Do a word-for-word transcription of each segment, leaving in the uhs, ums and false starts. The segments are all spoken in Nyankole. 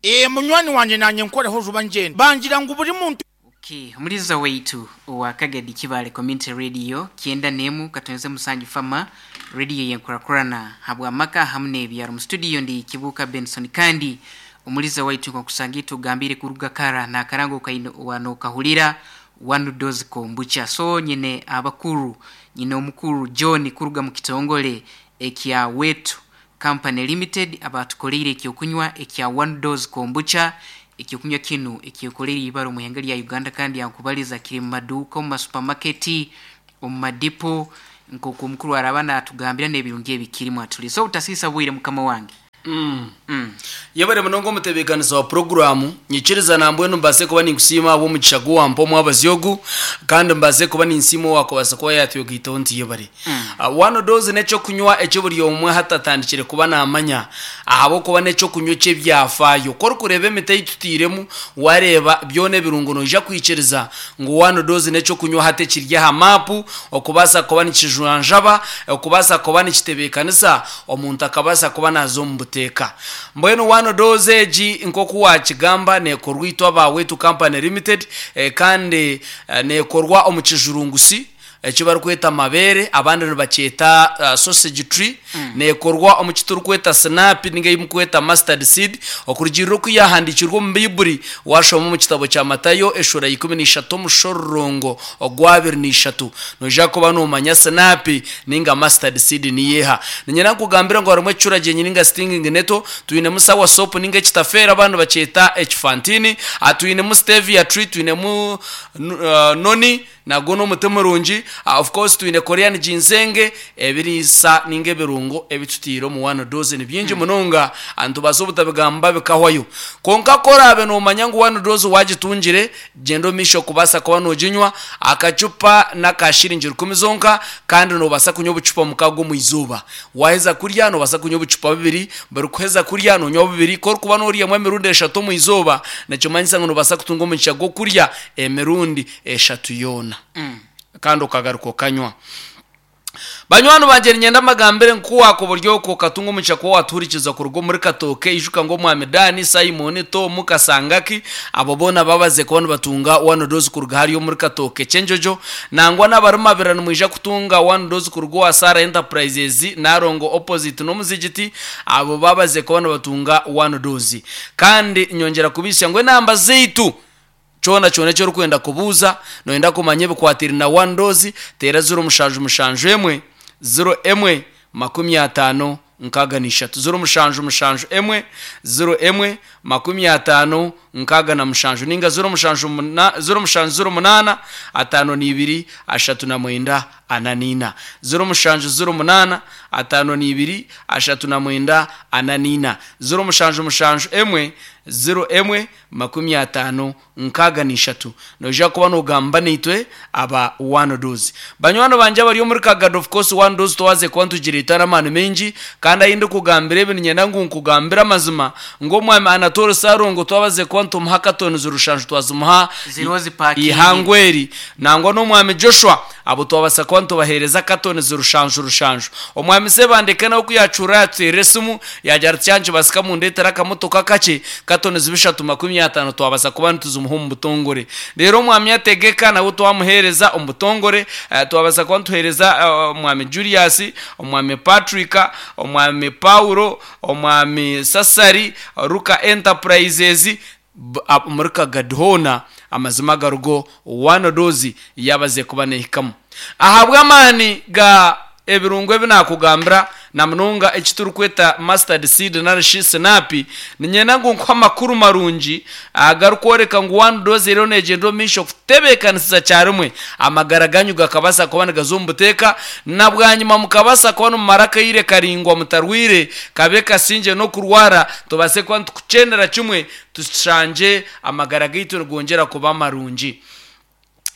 Ee, munywani wangye naanye nkoreho juba ngyende. Bangira ngu buri muntu. Okay, omuliza waitu owa Kagadi Kibaale Community Radio kyenda n'emu katonze musanju fama radio yenkurakurana habw'amaka hamu n'ebyaro. Mu studio ndi Kibuuka Benson, kandi omuliza waitu nkokusanga tugambire kuruga kara n'akarango kaine wanokahulira One Dose Kombucha. So nyine abakuru, nyine omukuru John kuruga mu kitongole ekya Wetu Company Limited abatukoleire ekyokunywa ekya One Dose Kombucha. Ekyokunywa kinu ekyekoleire ibara omu ihanga lya Uganda, kandi yankubaliza kiri mu maduuka, omu masupamaketi, omu madipo, nk'oku omukuru araba natugambira n'ebirungi ebikirimu atuli. So utasiisa bwire mukama wange. Mm. Mm. Yebare munonga omutebeekanisa wa puroguraamu. Nyikiriza nambwenu mbaase kuba ninkusiima ahabw'omugisha guwampa omwabazi ogu, kandi mbaase kuba ninsiima owakubaasa kuba yatwegaitaho nti yebare. Uh, One Dose n'ekyokunywa eki buri omwe hati atandikire kuba naamanya, ahabw'okuba n'ekyokunywa eky'ebyafaayo. Ku orikureeba emiti ei tutairemu, wareeba byona ebirungo, noija kwikiriza ngu One Dose n'ekyokunywa hati ekiri aha maapu, okubaasa kuba nikijwanjaba, okubaasa kuba nikitebeekanisa omuntu akabaasa kuba naaza omu buteeka. Mbwenu One Dose egi, nk'oku wakigamba, neekorwa itwe aba Wetu Company Limited, eh, kandi eh, neekorwa omu kijurungusi eki barikweta mabeere, abandi nibakyeta uh, sausage tree. Neekorwa omu kiturikweta sinapi ninga ei mukweta mustard seed, okurugirira oku yahandiikirwe omu Baiburi. Washoma omu kitabo kya Matayo eshura ikumi n'ishatu omushororongo ogwa abiri n'ishatu, noija kuba nomanya sinapi ninga mustard seed niyeha. Ninyenda nkugambire ngu harimu ekicuragyenyi ninga stinging nettle, twinemu sour sop ninga ekitafeera, abandi bakyeta ekifantini, Ah, twinemu stevia tree, twinemu uh, noni, nagwo n'omuti murungi. uh, of course twine Korean ginseng. Ebiriisa ninga ebirungo ebitutiire omu One Dose ni bingi munonga, nitubaasa obutabigamba bikahwayo. Konka korabe nomanya ngu One Dose wagitungire, gyenda omu maisho kubaasa kuba noginywa. Akacupa n'aka shiringi rukumi zonka, kandi nobaasa kunywa obucupa mukaaga omu izooba. Waheza kurya nobaasa kunywa obucupa bubiri, buri kuheza kurya nonywa bubiri. Korikuba noryamu emirundi eshatu omu izooba, nikimanyisa ngu nobaasa kutunga omugisha gw'okurya emirundi eshatu yoona, Mm. kandi okagaruka okanywa. Banywani bangye, ninyenda mbagambire nkuwaka oburyo okwo okatunga omugisha kuba watuhurikiza kuruga omuri Katooke. Ijuka ngu omwami Dani, Simon, Tom Kasangaki, abo boona babaze kuba nibatunga One Dose kuruga hariyo omuri Katooke Kyenjojo. Nangwa n'abari Mabira nimwija kutunga One Dose kuruga owa Sara Enterprises Narongo, opposite n'omuzigiti. Abo babaze kuba nibatunga One Dose. Kandi nyongera kubisya ngu enamba zaitu, kyona kyona eki orikwenda kubuuza, noyenda kumanya ebikwatire na One Dose, teera ziro mushanju mushanju emwe ziro emwe makumi ataano nkaaga n'ishatu, ziro mushanju mushanju emwe ziro emwe makumi ataano nkaaga na mushanju, ninga ziro mushanju muna- ziro mushanju ziro munaana ataano n'ibiri ashatu na mwenda ana n'ina, ziro mushanju ziro munaana ataano n'ibiri ashatu na mwenda ana n'ina, ziro mushanju mushanju emwe ziro emwe makumi ataano nkaaga n'ishatu. Noija kuba nogamba naitwe aba One Dose. Banywani bangye abari omuri Kagado, of course One Dose twaze kuba nitugireeta n'amaani maingi. Kandi ahi ndikugambira ebi, ninyenda ngu nkugambire amazima ngu omwami Anatole Sarongo twabaze kuba nitumuha katoni zirushanju, twazimuha Ziriho zipakingi. ihangweri. Nangwa n'omwami Joshua, abo twabasa kuba nitubaheereza katoni zirushanju rushanju. Omwami Sebandeke nawe kuyacura yatuteerera esimu, yagira ati kyankibasika mundetera akamotoka kakye, katoni zibishatu makumi ataano twabasa kuba nituzimuha omu butongore. Rero omwami ategeka nawe twamuheereza omu butongore. eh, twabasa kuba nituheereza eh, omwami Julius, omwami Patrick, omwami Paulo, omwami Sasari Ruka Enterprises b- ab- muri Kagadi hoona. Amazima garugo, One Dose yabaze kuba nehikamu ahabw'amaani ga ebirungo ebi nakugambira, na munonga eki turikweta mustard seed narishi sinapi. Ninyenda ngu nkuhe amakuru marungi agarikworeka ngu One Dose eriyo negyenda omu maisho kutebeekanisiza kyarimwe amagara ganyu gakabasa kuba nigaza omu buteeka, na bwanyima mukabasa kuba nimumara akaire karingwa mutarwire kabe kasingye n'okurwara. Tubase kuba nitukukyendera kimwe, tushangye amagara gaitu nigongyera kuba marungi.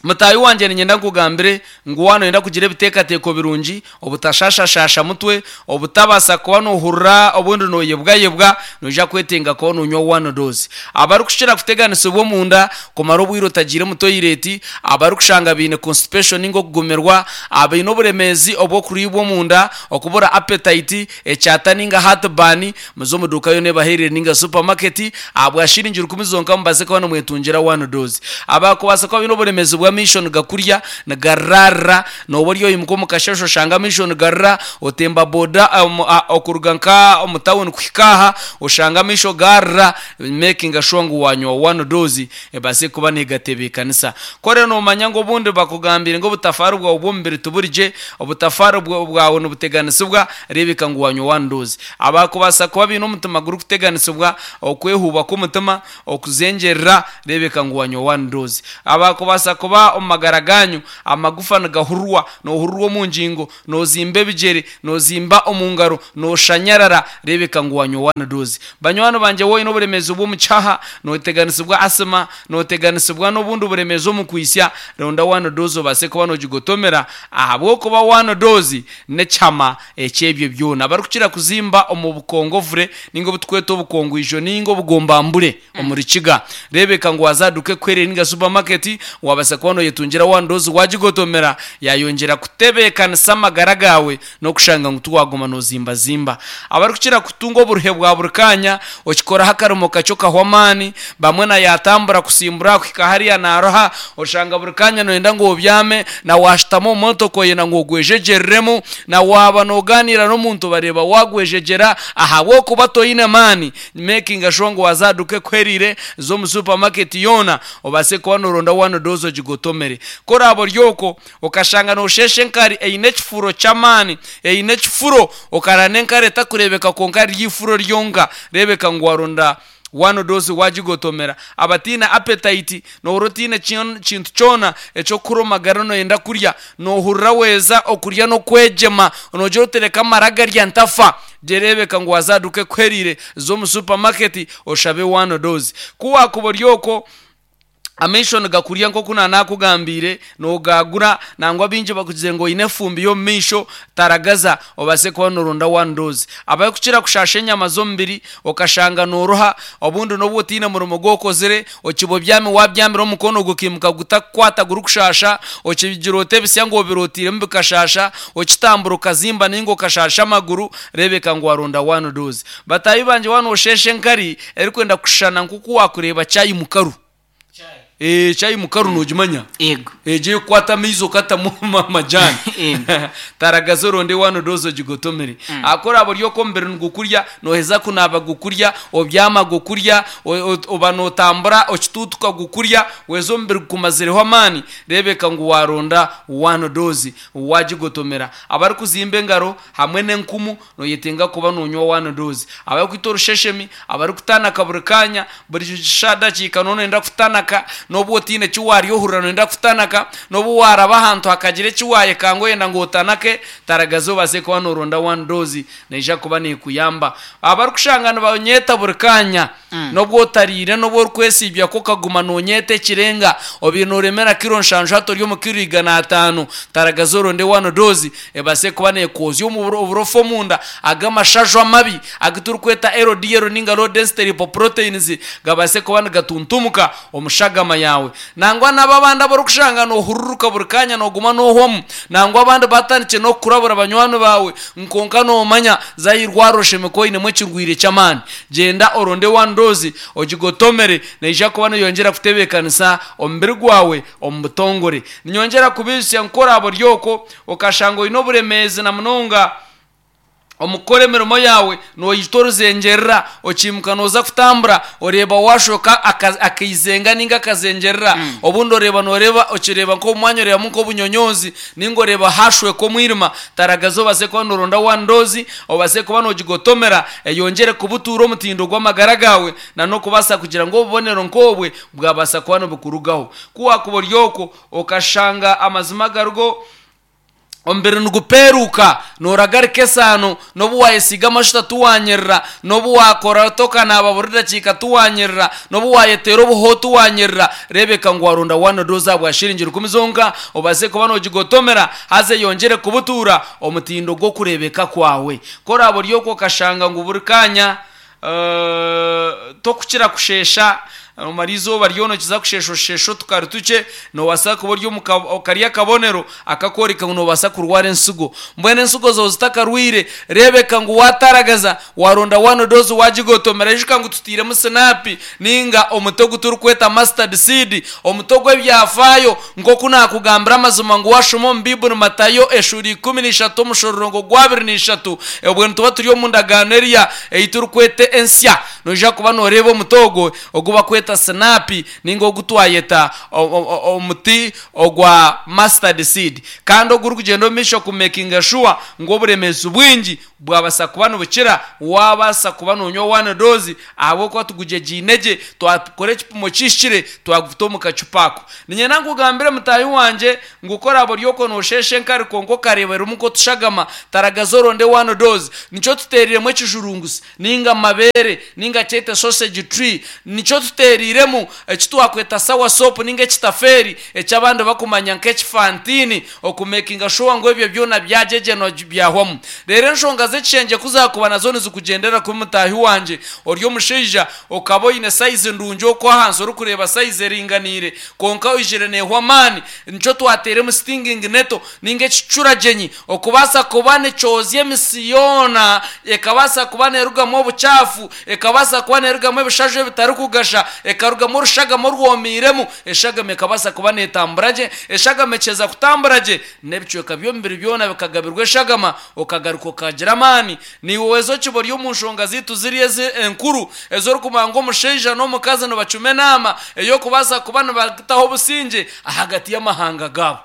Mutayi wanje ninyenda nkugambire ngu wano yenda kugira ebiteekateeko birungi, obutashashashasha mutwe, obutabasa kuba nohurura obundi noyebwayebwa, noija kwetenga kuba nonywa one dose. Abarikushira kuteganisibwa omunda kumara obwire otagiire mu toilet, abarikushanga biine constipation ninga okugumirwa, abaine oburemeezi obw'okuriibwa omunda, okubura appetite, ekyata ninga heartburn, muze omu duuka yoona ebaheerire ninga supermarket, ahabwa shiringi rukumi zonka mubaase kuba nimwetungira one dose. Abakubaasa kuba baine oburemeezi bw'amaisho nigakurya nigararira, nooba ori oyimuka omu kasheshe oshanga amaisho nigarira, otemba boda omu- a- okuruga nka omu tawuni kuhika aha oshanga amaisho garira, making sure ngu wanywa one dose ebaase kuba negatebeekanisa. Kore noomanya ngu obundi bakugambire ngu obutafaari bwawe bw'omubiri tiburigye, obutafaari bwa- bwawe nibuteganisibwa, reebeka ngu wanywa one dose. Abakubaasa kuba baine omutima gurikuteganisibwa, okwehuuba kw'omutima, okuzengyerera, reebeka ngu wanywa one dose. Abakubaasa kuba omu magara ganyu amagufa nigahururwa, nohururwa omu ngingo, nozimba ebigyere, nozimba omu ngaro, noshanyarara, reebeka ngu wanywa one dose. Banywani bangye, woine oburemeezi bw'omu kyaha, noteganisibwa asima, noteganisibwa n'obundi buremeezi omu kwisya, ronda one dose obaase kuba nogigotomera, ahabw'okuba one dose n'ekyama eky'ebyo byona. Abarikukira kuzimba omu bukongovure ninga obutukweta obukongwijo ninga obugombambure omu rukiga, reebeka ngu waza duka ekwerere ninga supermarket, wabaasa kuba noyetungira one dose wagigotomera, yayongyera kutebeekanisa amagara gawe n'okushanga ngu tiwaguma nozimbazimba. Abarikukira kutunga oburuhe bwa buri kanya, okikoraho akarimo kakye okahwa amaani, bamwe na yatambura kusimbura kuhika hariya naroha, oshanga buri kanya noyenda ngu obyame, na washutama omu motoka oyenda ngu ogwejegyereremu, na waba noganira n'omuntu bareeba wagwejegyera ahabw'okuba toine maani, making sure ngu waza duka ekwerire z'omu supermarket yoona obaase kuba noronda one dose ogigotomere. Koraba ori okwo okashanga noshesha enkari eine ekifuro ky'amaani, eine ekifuro, okarara n'enkari etakureebeka kwonka riri ifuro ryonka, reebeka ngu waronda one dose wagigotomera. Abataine appetite, nohurira otaine kyon- kintu kyona eky'okukura omu magara noyenda kurya, nohurira weeza okurya n'okwegyema, nogira otereka amara garya ntafa, gyereebeka ngu waza duka ekwerire z'omu supermarket oshabe one dose. Ku wakuba ori okwo amaisho nigakurya nk'oku nanakugambiire, nogagura, nangwa bingi bakugize ngu oine efumbi y'omu maisho, taragaza obaase kuba noronda one dose. Abarikukira kushasha enyama z'omubiri, okashanga noruha, obundi n'obu otaine murimo gwokozire, okiba obyami wabyamira omukono gukimuka gutakukwata gurikushasha, okigira ota ebisya ngu obirotiremu bikashasha, okitambura okazimba ninga okashasha amaguru, reebeka ngu waronda one dose. Bataahi bangye, waaba noshesha enkari erikwenda kushushana nk'oku wakureeba chai mukaru. Eh, chai mukaru nogimanya? Yego. Egyo ekukwata amaizi okatamu amajani. Yego. Taragaza oronde one dose ogigotomere. Akoraba ori okwo omubiri nigukurya, noheza kunaaba gukurya, obyama gukurya, o- o- oba notambura okituutuka gukurya, weza omubiri gukumazireho amaani, reebeka ngu waronda one dose wagigotomera. Abarikuzimba engaro hamwe n'enkumu, noyetenga kuba nonywa one dose. Abarikwita orusheshemi, abarikutanaka buri kanya, buri dakiika noyenda kutanaka, n'obu otaine eki warya ohurira noyenda kutanaka, n'obu waraba ahantu hakagira eki wayekanga oyenda ngu otanake, taragaza obaase kuba noronda one dose, neija kuba nekuyamba. Abarikushanga nibanyeta buri kanya, n'obu otariire, n'obu orikwesiibyako okaguma nonyeta ekirenga, obiire noremera kiro nshanju hati ori omu kiro igana ataano, taragaza oronde one dose ebaase kuba nekwozya omu oburofa omunda, ag'amashaju amabi agu turikweta L D L ninga low density lipoproteins gabaase kuba nigatuntumuka omu shagama yawe. Nangwa nabo abandi abarikushanga nohururuka buri kanya, noguma nohwamu, nangwa abandi batandikire n'okukurabura banywani bawe, nkonka nomanya zayirwara oshemeka oinemu ekirwire ky'amaani, gyenda oronde one dose ogigotomere, neija kuba neyongyera kutebeekanisa omubiri gwawe omu butongore. Ninyongyera kubijusya nkoraba ori okwo okashanga oine oburemeezi na munonga omu kukora emirimo yawe, noyita oruzengyerera, okimuka noza kutambura, oreeba washoka aka- akaizenga ninga akazengyerera, obundi oreeba noreeba okireeba nk'omu mwanya oreebamu nk'obunyonyoozi ninga oreeba hashweka omwirima, taragaza obaase kuba noronda one dose obaase kuba nogigotomera, eyongyere kubutuura omutindo gw'amagara gawe na n'okubaasa kugira ngu obubonero nk'obwe bwabaasa kuba nibukurugaho. Ku wakuba ori okwo okashanga amazima garigo Omubiri nigupeeruka, nooragarika esaano, n'obu waayesiiga amashuta tiwanyirira, n'obu waakora tokanaaba buri dakiika tiwanyirira, n'obu waayeteera obuhoho tiwanyirira. Reebeka ngu waronda one dose ahabwa shiringi rukumi zonka, obaase kuba noogigotomera haza eyongyere kubutuura omutindo gw'okureebeka kwawe. Ku oraaba ori okwo okashanga ngu buri kaanya eh, tokukira kusheesha, omara izooba ryona okiza kusheesha osheesha otukari tukye, noobaasa kuba ori omu ka- kari akabonero akakworeka ngu noobaasa kurwara ensigo. Mbwenu ensigo zaawe zitakarwire, reebeka ngu waataragaza waronda one dose waagigotomera. Ijuka ngu tutairemu sinapi ninga omuti ogu turikweta mustard seed, omuti ogw'ebyafaayo. Nk'oku naakugambira amazima ngu waashoma omu Biibuli Matayo eshuura ikumi n'ishatu omushororongo gw'abiri n'ishatu, obwe nituba turi omu ndagaano eriya ei turikweta ensya, noija kuba nooreeba omuti ogwo ogu bakweta sinapi ninga ogu twayeta o- o- o- omuti ogwa mustard seed, kandi ogurikugyenda omu maisho kumakinga sure ngu oburemeezi bwingi bwabasa kuba nibukira wabaasa kuba noonywa one dose, ahabw'okuba tugugyegiine gye, twakora ekipimo kihikire, twaguta omu kacupa ako. Niinyenda nkugambire mutaahi wangye ngu ku oraaba ori okwo noosheesha enkari kwonka okareeberamu nk'otushagama, taragaza oronde one dose. Nikyo tuteeriremu ekijurungusi ninga amabeere ninga kyete sausage tree, nikyo tuteeriremu eki twakweta sour sop ninga ekitafeeri eky'abandi bakumanya nk'ekifantini, okumakinga sure ngu ebyo byona byagyegyenwa byahwamu. Reero enshonga z'ekishengye ku zaakuba nazo nizikugyendera kubi mutaahi wangye, ori omushaija okaba oine sayizi ndungi okwo ahansi orikureeba sayizi eringaniire, kwonka oijire neehwa amaani, nikyo twateiremu stinging nettle ninga ekicuragyenyi okubaasa kuba nikyozya emisi yoona, ekabaasa kuba neerugamu obucaafu, ekabaasa kuba neerugamu ebishaju ebitarikugasha, ekarugamu orushagama orwomiiremu, eshagama ekabaasa kuba neetambura gye. Eshagama ekyeza kutambura gye, n'ebicweka by'omubiri byona bikagabirwa eshagama, okagaruka okagira amaani. Niiwe weeza okiba ori omu nshonga zaitu ziri ezi enkuru ez'orikumanya ngu omushaija n'omukazi nibacuma enaama ey'okubaasa kuba nibataho obusingye ahagati y'amahanga gaabo.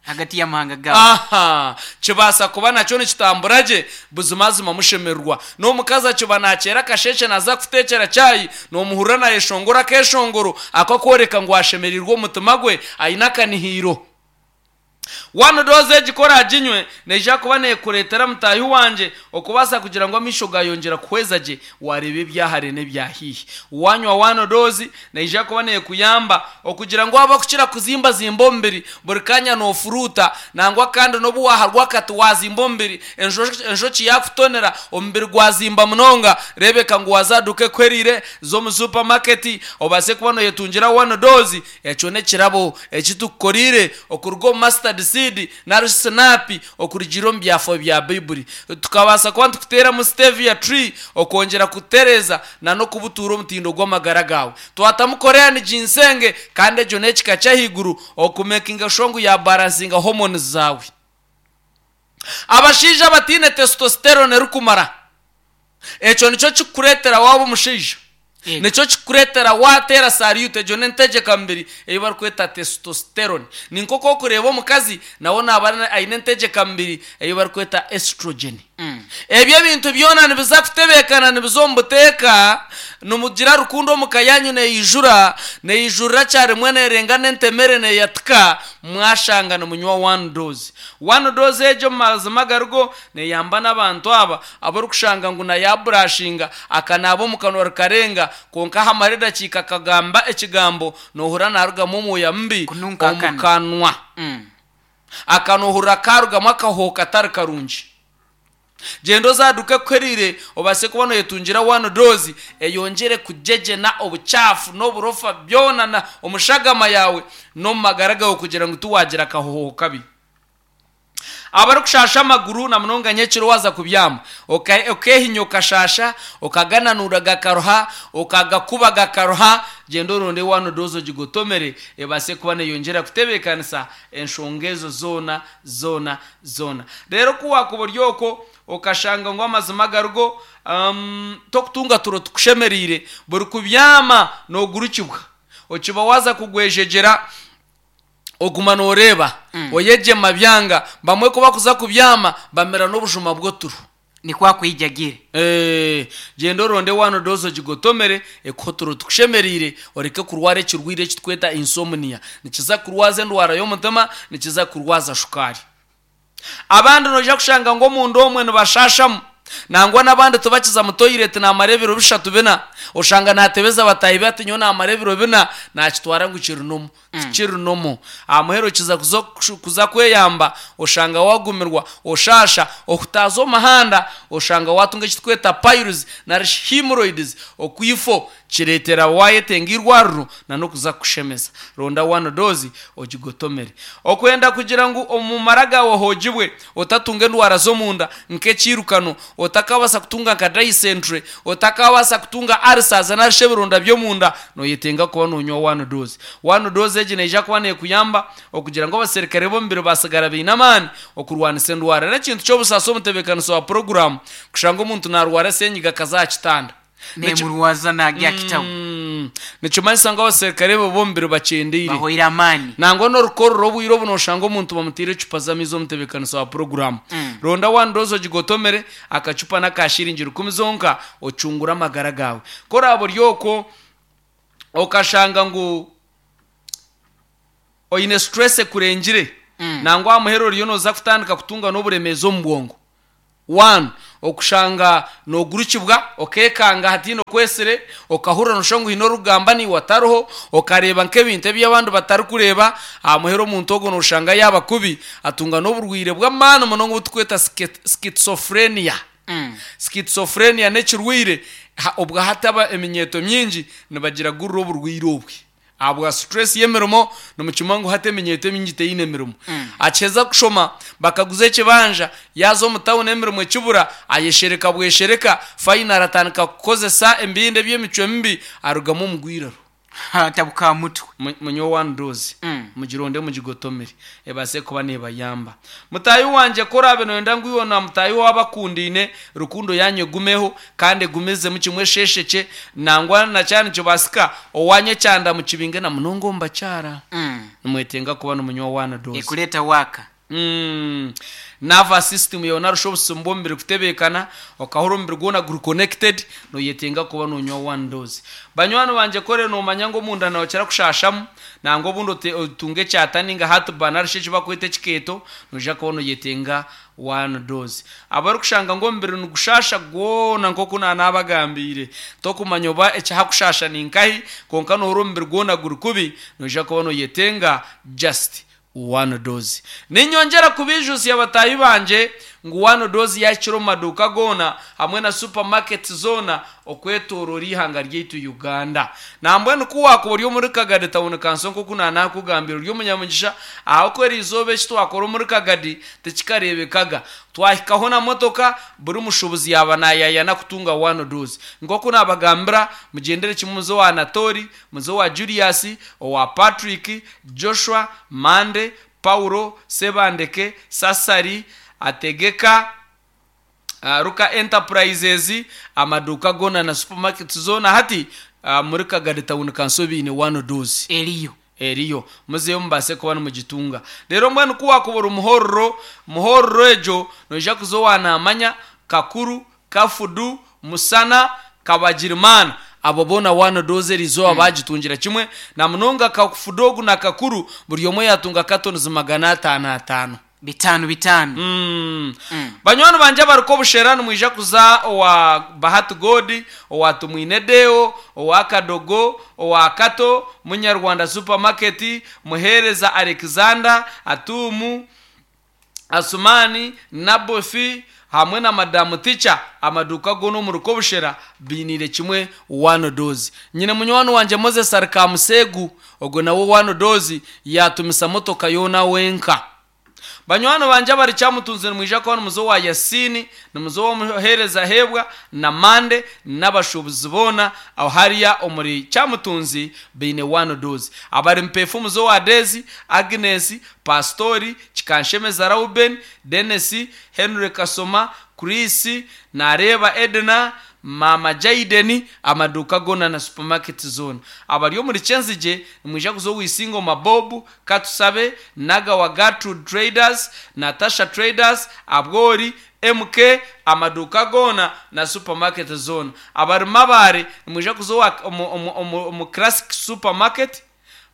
Hagati y'amahanga gaabo. Aha kibaasa kuba nakyo nikitambura gye, buzimazima mushemererwa. N'omukazi akiba nakyera akasheshe naza kuteekyera chai, nomuhurira nayeshongora akeshongoro akakworeka ngu ashemereirwe omutima gwe, aine akanihiiro. One dose egi ku oraginywe, neija kuba neekureetera mutaahi wangye okubaasa kugira ngu amaisho gayongyera kuhweza gye, wareeba ebyahare n'ebyahaihi. Wanywa one dose, neija kuba neekuyamba okugira ngu waba kukira kuzimbazimba omubiri buri kanya noofuruuta, nangwa kandi n'obu waharwa akati wazimba omubiri, enjo- enjoki yakutonera omubiri gwazimba munonga, reebeka ngu waza aha duuka ekuheriire z'omu supermarket, obaase kuba nooyetungira one dose. Ekyo n'ekirabo eki tukukoriire okuruga omu mustard seed nari sinapi okurugiirira omu byafaayo bya Baibuli. Tukabaasa kuba nitukuteeramu stevia tree okwongyera kutereeza na n'okubutuura omutindo gw'amagara gaawe. Twatamu Korean ginseng, kandi egyo n'ekika ky'ahaiguru okumakinga sure ngu yabalansinga hormones zaawe. Abashaija abataine testosterone erikumara, ekyo nikyo kikukureetera waaba omushaija. Yego. Nikyo kikukureetera waateera salute. Egyo n'entegyeka mubiri ei barikweta testosterone. Ni nk'oku okureeba omukazi nawe naaba aine entegyeka mubiri ei barikweta estrogen. Mm. Ebyo ebintu byona nibiza kutebeekana, nibiza omu buteeka, nimugira rukundo omuka yanyu neeyijura, neeyijurira kyarimwe, neerenga n'entemere neeyatika, mwashanga nimunywa one dose. One dose egyo omu mazima agarigo neeyamba n'abantu aba abarikushanga ngu nayaburashinga akanaaba omu kanwa rikarenga, kwonka hamara edakiika akagamba ekigambo noohurira naarugamu omwoya mubi Kununka omu akanwa. kanwa. Mm. Akanohurira karugamu akahoho katari karungi. Gyenda oze aha duuka ekuheriire obaase kuba nooyetungira one dose eyongyere kugyegyena obucaafu n'oburofa byona na omushagama yaawe n'omu magara gaawe kugira ngu tiwagira akahoho kabi. Abarikushasha amaguru na munonga nyekiro waza kubyama, oka- okeehinya okashasha, okagananura gakaruha, okagakuba gakaruha, gyenda oronde one dose ogigotomere ebaase kuba neeyongyera kutebeekanisa enshonga ezo zoona zoona zoona. Reero ku waakuba ori okwo okashanga ngu amazima agarigo um, tokutunga turo tukushemereire, buri kubyama noogurukibwa, okiba waza kugwejegyera oguma nooreeba Mm. oyegyema byanga. Bamwe ku bakuza kubyama bamera n'obujuma bw'oturo. Nikwa kwijagire. Eh, gyenda oronde one dose ogigotomere ekuhe oturo tukushemereire, oreke kurwara ekirwire ekitweta insomnia. Nikiza kurwaza endwara y'omutima, nikiza kurwaza shukaari. Abandi noija kushanga ngu omundu omwe nibashashamu, nangwa n'abandi tubakiza mu toilet namara ebiro bishatu bina, oshanga natebeza batahi be ati nyowe namara ebiro bina, nakitwara ngu kiri nomo. Tikiri nomo. Aha muheru kiza kuza kuza kweyamba, oshanga wagumirwa, oshasha, okutaaza omuhanda, oshanga watunga ekitukweta piles nari hemorrhoids, okwifo kireetera wayetenga irwariro na n'okuza kukushemeza. Ronda one dose ogigotomere. Okwenda kugira ngu omu mara gawe hoogibwe, otatunga endwara z'omunda nk'ekiirukano, otakabasa kutunga nka dysentery, otakabasa kutunga ulcers nari shi ebironda by'omunda, noyetenga kuba nonywa one dose. One dose egi neija kuba nekuyamba okugira ngu abaserikare b'omubiri basigara baine amaani okurwanisa endwara. N'ekintu ky'obusaasi omutebeekanisa wa puroguramu kushanga omuntu narwara senyiga akaza aha kitanda. Nemurwaza nagya kitabu. Mm. Nikimanyisa ngu abaserikare bo b'omubiri bakyendeire, bahoire amaani. Nangwa n'orukorero obwire obu noshanga omuntu bamutiire ecupa z'amaizi omutebeekanisa wa puroguramu. Mm. Ronda one dose ogigotomere, akacupa n'aka shiringi rukumi zonka, ocungure amagara gawe. Koraba ori okwo okashanga ngu oine stress ekurengire, Mm. nangwa aha muheru oriyo noza kutandika kutunga n'oburemeezi omu bwongo. One, okushanga nogurukibwa, okekanga hatiine okwesire, okahurira noshusha ngu hiine orikugamba naiwe atariho, okareeba nk'ebintu ebi abandi batarikureeba. Aha muheru omuntu ogwo noshanga yaaba kubi, atunga n'oburwaire bw'amaani munonga obu tukweta schizophrenia. Mm. Schizophrenia n'ekirwaire obwa hati aba eminyeeto mingi nibagira gurira oburwaire obwe ahabwa stress y'emirimo. Nimukimanya ngu hati eminyeeto emingi teine emirimo. Akiheza kushoma, bakaguza ekibanja, yaza omu tawuni emirimo ekibura, ayeshereka bweshereka, finally atandika kukozesa ebindi eby'emicwe mibi, arugamu omugwiraro. Tabuka mutwe. Munywe one dose, Mm. mugironde mugigotomere, ebase kuba nebayamba. Mutahi wanje, korabe noyenda ngu iwe na mutahi wabakundiine rukundo yanyu egumeho kandi egumizemu kimwe esheshekye, nangwa na kyana nikibasika owanye ekyanda mukibinge na munonga omu bakyara, Mm. nimwetenga kuba nimunywa one dose. Ekuleta waka. Mm. Nervous system yawe narusha obusimu bw'omubiri kutebeekana, okahura omubiri gwona guri connected, noyetenga kuba nonywa one dose. Banywani banje, kore nomanya ngu omunda nokira kushashamu, nangwa obundi ote- otunge ekyata ninga heartburn narishi eki bakweta ekikeeto, noija kuba noyetenga one dose. Abarikushanga ngu omubiri nigushasha gwona nk'oku nanabagambiire, tokumanya oba ekihakushasha ninkahi, konka nohurira omubiri gwona guri kubi, noija kuba noyetenga just one dose. Ninyongera kubijusya batahi banje ngu one dose yakira omu maduuka goona hamwe na supermarket zoona okwetorora ihanga ryaitu Uganda. Nambwenu ku wakuba ori omuri Kagadi Town Council, nk'oku nanakugambira, ori omunyamugisha ahakuba erizooba eki twakora omuri Kagadi tikikarebekaga. Twahikaho na motoka, buri mushubuzi yaba nayayana kutunga one dose. Nk'oku nabagambira, mugendere kimwe muze owa Anatori, muze owa Julius, owa Patrick, Joshua, Mande, Paulo, Sebandeke, Sasari, Ategeka, uh, Ruka Enterprises, amaduuka gona na supermarket zona hati uh, muri Kagadi Town Council biine one dose. Eriyo. Eriyo, muzeyo mubase kuba nimugitunga. Rero mbwenu ku wakubura omuhororo, muhororo egyo noija kuza owanamanya Kakuru, Kafudu, Musana, Kabagirimana, abo boona one dose eriizooba bagitungira kimwe. Na munonga Kafudu ogu na Kakuru, buri omwe yatunga cartons magana ataano ataano. Bitano bitano. Mm. Mm. Banywani banje abariko obushera, nimwija kuza owa Bahati God, owa Tumwine Deo, owa Kadogo, owa Kato, Munyarwanda Supermarket, Muhereza Alexander, Atumu, Asumani, Nabofi hamwe na Madamu Ticha, amaduka goona omuri Kobushera biinire kimwe one dose. Nyine munywani wanje Moses Arikamusegu, ogwo nawe one dose yatumisa motoka yoona wenka. Banywani banje abari Kyamutunzi, nimwija kuba nimuza owa Yasini, nimuza owa Hebwa na Mande n'abashubuzi boona aho hariya omuri Kyamutunzi baine one dose. Abari Mpefu, muza owa Dezi, Agnes, Pastori Kikanshemeza, Rauben, Denis, Henry Kasoma, Chris, Nareba Edna, Mama Jaiden, amaduka gona na supermarket zone. Abari omuri Kyenzigye, nimwija kuza owisingo Mabobu, Katusabe, Nagawa, Gertrude Traders, Natasha Traders, Abwori, M K, amaduka gona na supermarket zone. Abari Mabare, nimwija kuza owa- omu- omu- omu omu Classic Supermarket,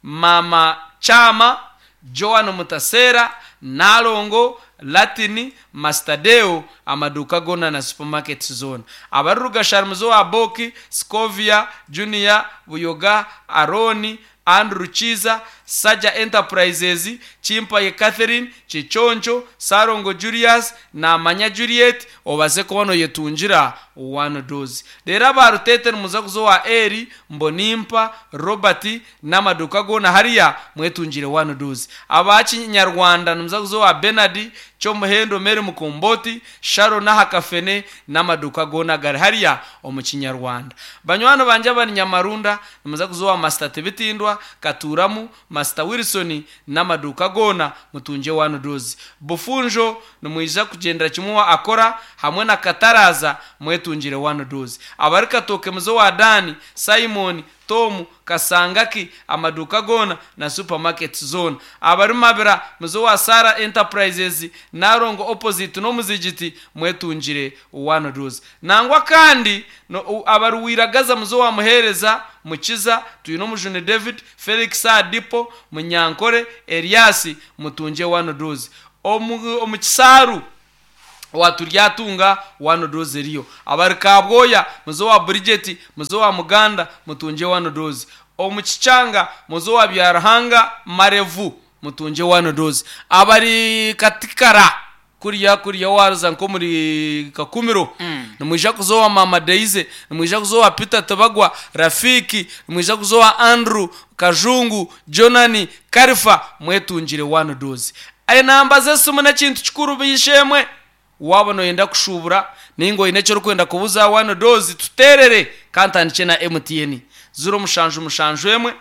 Mama Chama, Joan Mutasera, Nalongo. Latini, Mastadeo, amaduka gona na supermarket zone. Abari Rugashara muzo wa Boki, Scovia, Junior, Buyoga, Aroni, Andrew Chiza, Saja Enterprises, Chimpaye Catherine, Chichoncho, Sarongo Julius na Manya Juliet obaze kuba noyetungira one dose. Rero abarutete nimuza kuzowa Eri, Mbonimpa, Robert n'amaduka gona hariya mwetungire one dose. Abakinyarwanda nimuza kuzowa Bernard, Kyomuhendo Mary Mukomboti, Sharon Hakafene n'amaduka gona gari hariya omu Kinyarwanda. Banywani banje abari Nyamarunda nimuza kuzowa Master Tebitindwa, Katuramu, Master Wilson n'amaduka gona mutunje one dose. Bufunjo nimwija kugendera kimwe wa akora hamwe na Kataraza mwetungire one dose. Abari Katoke muzo wa Dani, Simon, Tom, Kasangaki, amaduka gona na supermarket zone. Abari Mabira muzo wa Sara Enterprises, Narongo opposite no muzigiti mwetungire one dose. Nangwa kandi no, u- abari Wiragaza muzo wa Muhereza, Mukiza, Tuyino Mujuni David, Felix Adipo, Munyankore, Elias mutunje one dose. Omu omu Kisaru waturyatunga one dose eriyo. Abari Kabwoya muzo wa Bridget, muzo wa Muganda mutunje one dose. Omu Kichanga muzo wa Byarahanga Marevu mutunje one dose. Abari Katikara kuriya kuriya waruza nko muri Kakumiro Mm. nimwija kuzowa Mama Deize, nimwija kuzowa Peter Tabagwa, Rafiki, nimwija kuzowa Andrew Kajungu, Jonani Karifa mwetungire one dose. Enamba z'esimu n'ekintu kikuru bishemwe waba noyenda kushubura ninga oyine eki orikwenda kubuza one dose tuterere kantandike na M T N ziro mushanju mushanju emwe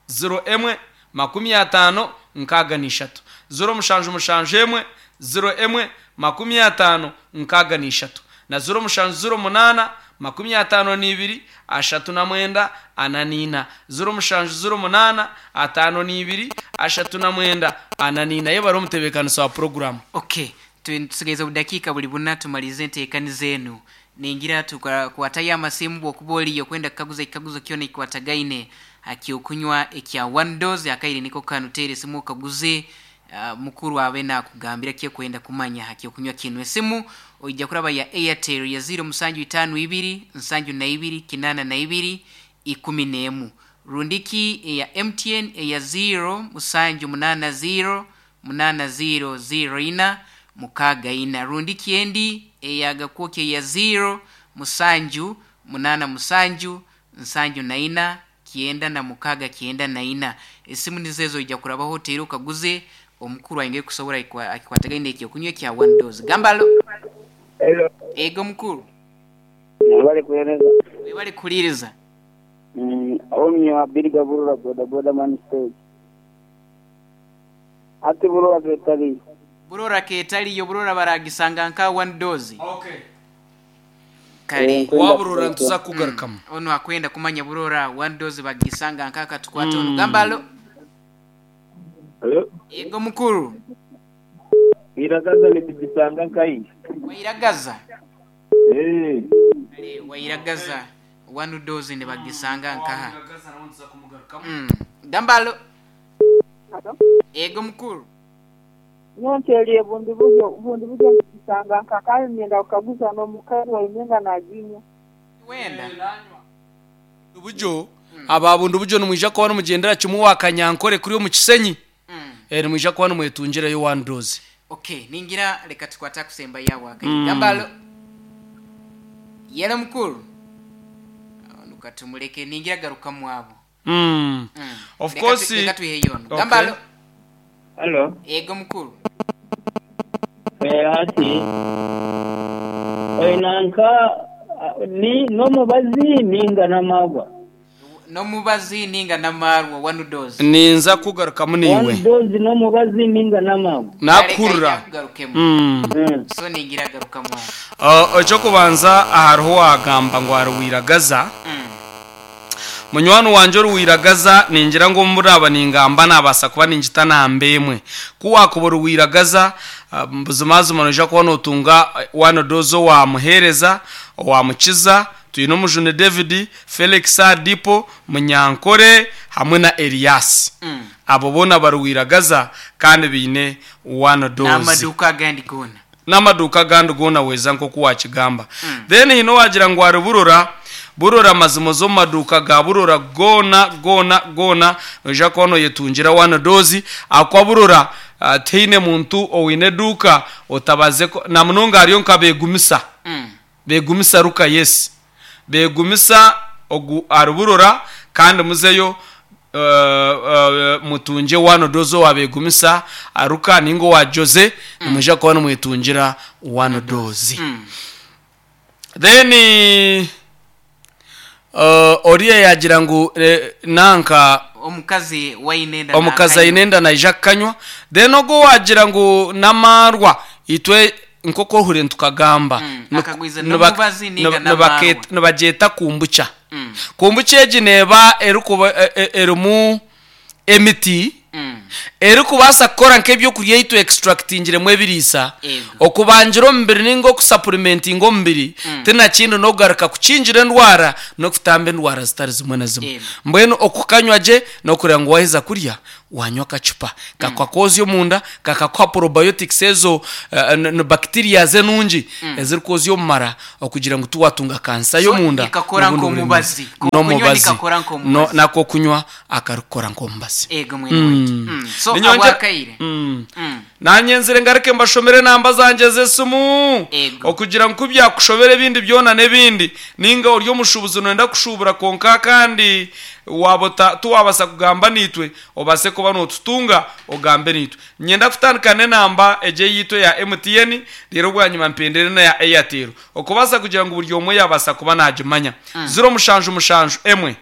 ziro emwe makumi atano nkaaga n'ishatu ziro mushanju mushanju emwe ziro emwe makumi atano nkaaga n'ishatu na ziro mushanju ziro munana makumi atano n'ibiri ashatu na mwenda ana n'ina ziro mushanju ziro munana atano n'ibiri ashatu na mwenda ana n'ina. Ye bari omutebeekanisa wa programu. Okay, tu- tusigaize obudakiika buli buna tumalize enteekani zenu. Ningira tukwatayo amasimu bwokuba oliyo kwenda kukaguza ekikaguzo kyona ekikwatagaine akyokunywa ekya one dose akaire niko kanuteera esimu okaguze uh, mukuru abe nakugambira kyekwenda kumanya akyokunywa kinu. Esimu oija kuraba ya Airtel ya ziro musanju itaano ibiri nsanju na ibiri kinana na ibiri ikumi n'emu, rundiki eya M T N eya ziro musanju munana ziro munana ziro ziro ina mukaaga ina, rundiki endi eyagakwoke ya ziro musanju munana musanju nsanju na ina kienda na mukaaga kienda na ina. Esimu nizezo ija kurabaho oteere okaguze omukuru ainge kusobora akikwatagaine ekyokunywa ekya one dose. Gambalo. Hello. Ego mukuru. Wabale kueleza. Webale kuliiriza. Mm, omyo abiriga burura boda boda man stage. Ati burura ketali. Burora ketaliyo burora baragisanga nka one dose. Okay. Kale. Eh, Kwenda Waburora ntuza kugarukamu. Ono akwenda kumanya burora one dose bagisanga nka katukwata ono. Gambalo. Hello. Ego mukuru. Iragaza ni bijisanga nkai. Wairagaza. Eh. Kale wairagaza one dose ne bagisanga nkaha. Mm. Gambalo. Ego mukuru. Nyontelie bundi buryo bundi buryo nkisanga nkakayo myenda kukaguza n'omukazi waimyenga naginywa. Wenda. Bujo ababundu bujo nimwija kuba nimugendera kimwe wa Kanyankore kuri omu Kisenyi. Mm. Eh nimwija kuba nimwetungirayo one dose. Okay, ningira leka tukwata kusemba yawo akayi. Mm. Gambalo. Yele mukuru. Nukatumuleke ningira garuka mwabo. Mm. Mm. Of Leka course. tu- leka tuihe yono. Okay. Gambalo. Hello. Ego mukuru. Eh ati. Oinanka ni nomubazi ninga namagwa. Nomubazi ninga namarwa one dose. Ninza kugarukamu One niwe. dose nomubazi ninga namagwa. Nakurra. Garukemu. Mm. Mm. So ningira garuka mwabo. Uh, ekyo kubanza hariho wagamba ngu aruwiragaza. Mm. Munywani wanje oruwiragaza ningira ngu muraba ningamba nabasa kuba ningita namba emwe kuwakuba oruwiragaza uh, buzimazima noija kuba notunga one dose owamuhereza owamukiza Twine Omujuni David, Felix Adipo, Munyankore hamwe na Elias. Mm. Abo boona baruwiragaza kandi biine one dose. N'amaduuka agandi goona. N'amaduuka agandi goona weza nk'oku wakigamba. Then hino wagira ngu ari Burora, Burora mazima z'omu maduuka ga Burora goona goona goona noija kuba noyetungira one dose. Akwa Burora uh, tihaine muntu oine eduuka otabaze ko- na munonga hariyo nka Begumisa. Mm. Begumisa ruka, yes, Begumisa ogu ari Burora, kandi muzeyo uh, uh, mutunge one dose owa Begumisa aruka ninga owa Jose, nimwija kuba nimwetungira one dose. Mm. Then uh, oriya yagira ngu eh, nanka omukazi wainenda. Omukazi aine enda naija kukanywa. Then ogwo wagira ngu namarwa, itwe nk'oku ohure ntukagamba Mm, Nuk- akagwiza niba- n'omubazi ninga niba- n'amarwa. nibake- nibagyeta kombucha. Mm. Kombucha egi neeba erikuba e- e- erimu emiti Mm. erikubaasa kukora nk'ebyokurya eitu extractingiremu ebiriisa Ego. okubangira omubiri ninga okusupplementinga omubiri. Mm. Tinakindi n'okugaruka kukingira endwara n'okutamba endwara zitari zimwe na zimwe. Ego. Mbwenu okukanywa gye n'okureba ngu waheza kurya wanywa akacupa kakakwozya omunda, kakakuha probiotics ezo eh, n- n- bacteria enungi ezirikwozya omumara okugira ngu tiwatunga kansa y'omunda. Nikakora n'obundi nk'omubazi. buremeezi. Kunywa N'omubazi. nikakora nk'omubazi. No- nako kunywa akarikukora nk'omubazi. Ego mwene waitu. Mm. So Ninyongera- abwakaire. Mm. Mm. Nanye nzire ngaruke mbashomere namba zanje z'esimu Ego. okugira ngu kubyakushobera ebindi byona n'ebindi, ninga ori omushubuzi noyenda kushubura konka kandi wabota tuwabasa kugamba nitwe, obase kuba notutunga ogambe nitwe. Nyenda kutandika n'enamba egye yitwe ya M T N, rero bwanyuma mpendere na ya Airtel okubasa kugira ngu buri omwe yabasa kuba nagimanya. Ziro mushanju mushanju emwe.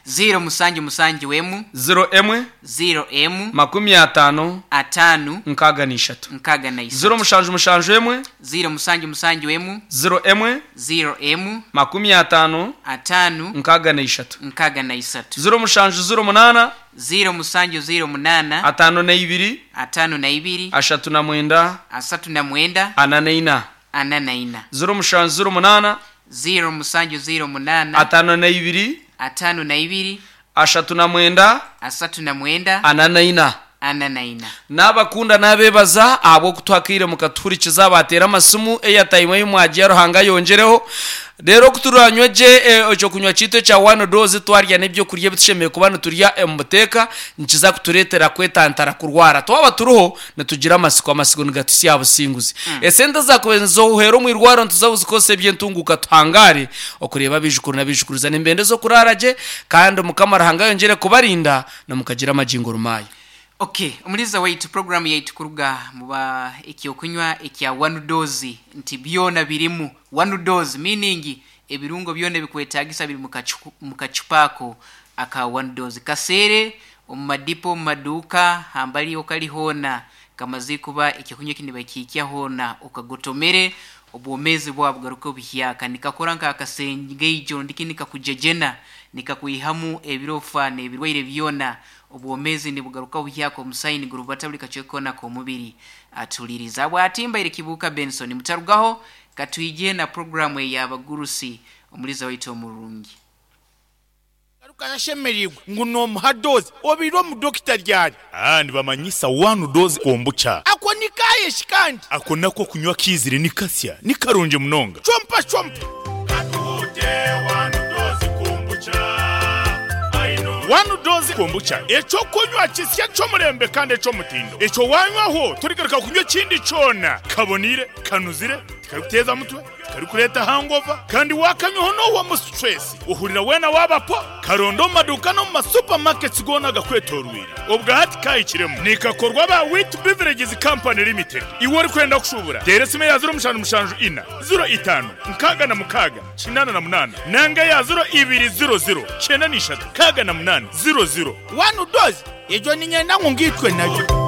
Ziro musanju musanju emu. Ziro emwe. Ziro emu. Makumi atano. Atano. Nkaaga n'ishatu. Nkaga na isatu. Ziro mushanju mushanju emwe. Ziro musanju musanju emu. Ziro emwe. Ziro emu. Makumi atano. Atano. Nkaaga n'ishatu. Nkaga na isatu. Ziro mushanju ziro munaana. Ziro musanju ziro munana. Atano n'eibiri. Atano na ibiri. Ashatu na mwenda. Asatu na mwenda. Ana n'eina. Ana na ina. Ziro mushanju ziro munaana. Ziro musanju ziro munana. Atano n'eibiri. Atano na ibiri. Ashatu na mwenda. Asatu na mwenda. Ana n'eina. Ana na ina. N'abakunda n'abebaza ahabw'okutuhakiire mukatuhurikiza, batera amasimu eyatayimwe y'omwagiya. Ruhanga yongereho rero kuturanywe gye eh, ekyo kunywa kiitu ekya one dose, twarya n'ebyokurya ebitushemereire kuba niturya omu buteeka, nikiza kutureetera kwetantara kurwara. Twaba turiho nitugira amasiko, amasiko nigatusya businguzi. Esente zakuba ohuhera omu irwaro nituza kuzikozesa ebyentunguka, tuhangare okureba abijukuru n'abijukuruza nembende z'okurara gye. Kandi Mukama Ruhanga yongere kubarinda namukagira amagingo rumayo. Okay, omuliza waitu, programu yaitu kuruga muba ekyokunywa ekya one dose nti byona birimu one dose, meaning ebirungo byona ebikwetagisa biri mukachu- mukacupa ako aka one dose. Kaseere omu madipo, omu maduuka hambali okali hoona, kamaze kuba ekyokunywa kini bakiikya hoona, okagotomere obwomezi bwabwo bugaruke obuhyaka. Nikakora nk'akasengeijo ndiki, nikakujejena, nikakwihamu ebirofa n'ebirwaire byona. Obwomezi nibugaruka buhyaka, omusayi nigurubata buli kacweka kona k'omubiri. Atuliriza bwatimbaire Kibuuka Benson. Mutarugaho, katwije na programu ey'abagurusi. Omuliza waitu omurungi. Garuka yashemereirwe ngu nomuha dose obiire omudokita ryari? Ah, nibamanyisa one dose kombucha. Ako nikayeshi kandi? Ako nako kunywa kizire ni kasya, ni karungi munonga. Chompa chompa. One dose kombucha. One dose kombucha ekyokunywa kisya ky'omurembe kandi eky'omutindo. Ekyo wanywaho turigaruka kunywa ekindi kyona. Kabonire, kanuzire, tikarikuteeza mutwe, tikarikureeta hangover, kandi wakanywaho n'owa mu stress uhurira wena wabapo. Karondo mu maduka no mu masupermarkets gona gakwetorwire. Obwo hati kahikiremu nikakorwa ba Wit Beverages Company Limited. Iwe uri kwenda kushubura, tera esimu ya ziro mushanju mushanju ina ziro itano nkaaga na mukaaga kinana na munana, nanga ya ziro ibiri ziro ziro kyenda n'ishatu kaaga na munani ziro ziro. One dose ejo ninyenda ngu ngitwe nayo.